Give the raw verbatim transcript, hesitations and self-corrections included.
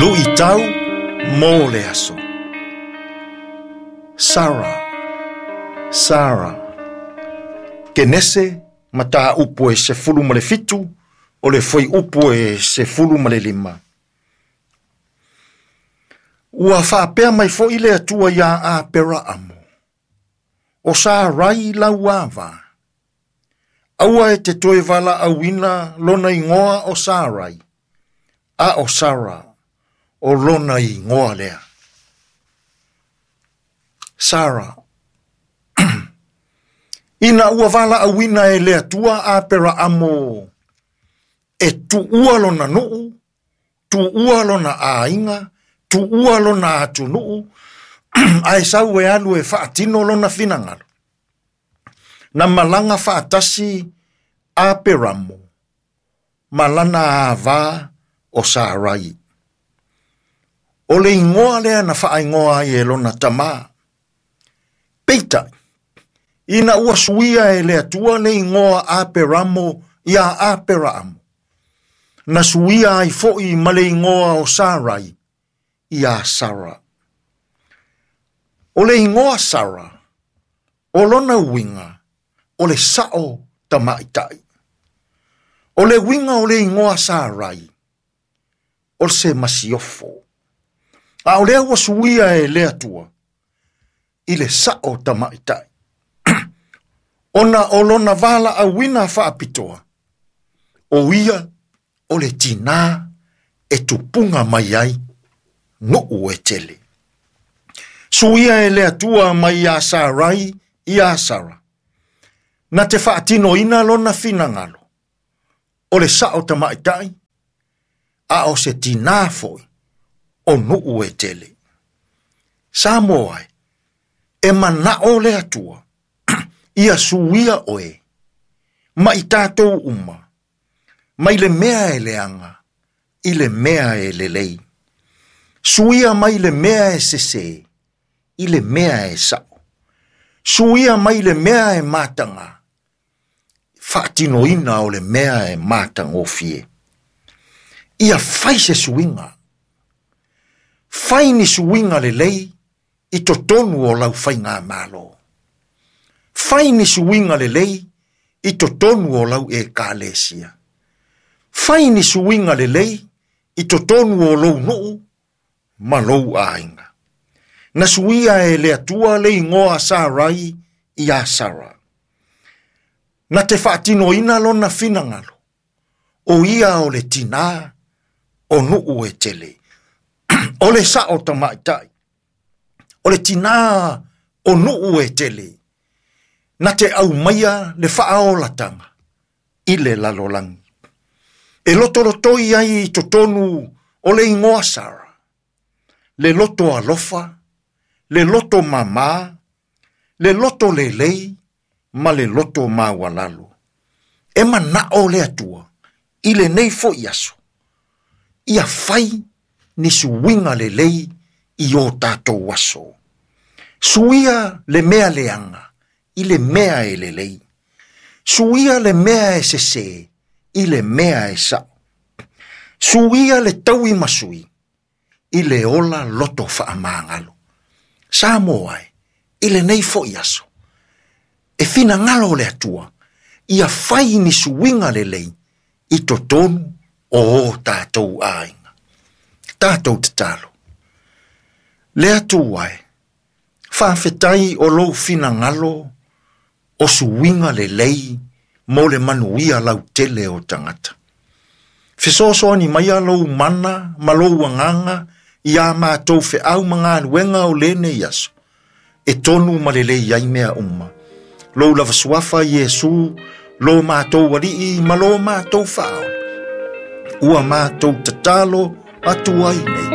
Luʻitau mo le aso. Sara, Sara. Kenese mataupu e sefulu ma le fitu o le fuaiupu e sefulu ma le lima. Ua faapea mai foʻi le Atua iā Aperaamo. O Sarai lau ava. Aua e te toe valaauina lona igoa o Sarai, a o Sara o lona igoa lea. Sara. Ina ua valaauina e le Atua Aperaamo e tuua lona nuu, tuua lona aiga, tuua lona atunuu, ae sau e alu e faatino lona finagalo. Na malaga faatasi Aperamo, ma lana ava o Sarai. O le igoa lea na faaigoa ai e lona tamā. Peitai, ina ua suia e le Atua le igoa Aperamo ia Aperaamo, na suia ai foʻi ma le igoa o Sarai ia Sara. O le igoa Sara, o lona uiga, o le saʻo tamaʻitaʻi. O le uiga o le igoa Sarai, o se masiofo. A o lea ua suia e le Atua i le saʻo tamaʻitaʻi. Ona o lona valaauina faapitoa, o ia o le tinā e tupuga mai ai nuu e tele. Suia e le Atua mai iā Sarai iā Sara. Na te faatinoina lona finagalo, o le saʻo tamaʻitaʻi, a o se tinā foʻi o nuu e tele. Samoa ai, e manaʻo le Atua, ia suia oe, ma i tatou uma, mai le mea e leaga, i le mea e lelei. Suia mai le mea e sesē, i le mea e saʻo. Suia mai le mea e mataga, faatinoina o le mea e matagofie. Ia fai se suiga. Fai ni suiga lelei i totonu o lau faigamalo. Fai ni suiga lelei i totonu o lau ekalesia. Fai ni suiga lelei i totonu o lou nuu ma lou aiga. Na suia e le Atua le igoa Sarai ia Sara. Na te faatinoina lona finagalo, o ia o le tinā o nuu e tele. O le saʻo tamaʻitaʻi, o le tinā o nuu e tele. Na te aumaia le faaolataga i le lalolagi. E lotolotoi ai i totonu o le igoa Sara, le loto alofa, le loto mamā, le loto lelei, ma le loto maualalo. E manaʻo le Atua i lenei foʻi aso, ia fai ni suiga lelei i o tatou aso. Suia le mea leaga i le mea e lelei. Suia le mea e sesē i le mea e saʻo. Suia le tauimasui i le ola loto faamagalo. Samoa e, i lenei foʻi aso, e finagalo le Atua, ia fai ni suiga lelei i totonu o o tatou aiga. Tatou tatalo. Le Atua e, faafetai o lou finagalo o suiga lelei mo le manuia lautele o tagata. Fesoasoani maia lou mana ma lou agaga iā matou feau ma galuega o lenei aso, e tonu ma lelei ai mea uma. Lou lava suafa Iesu, lo matou Alii ma lo matou Faaola. Ua matou tatalo atu ai nei.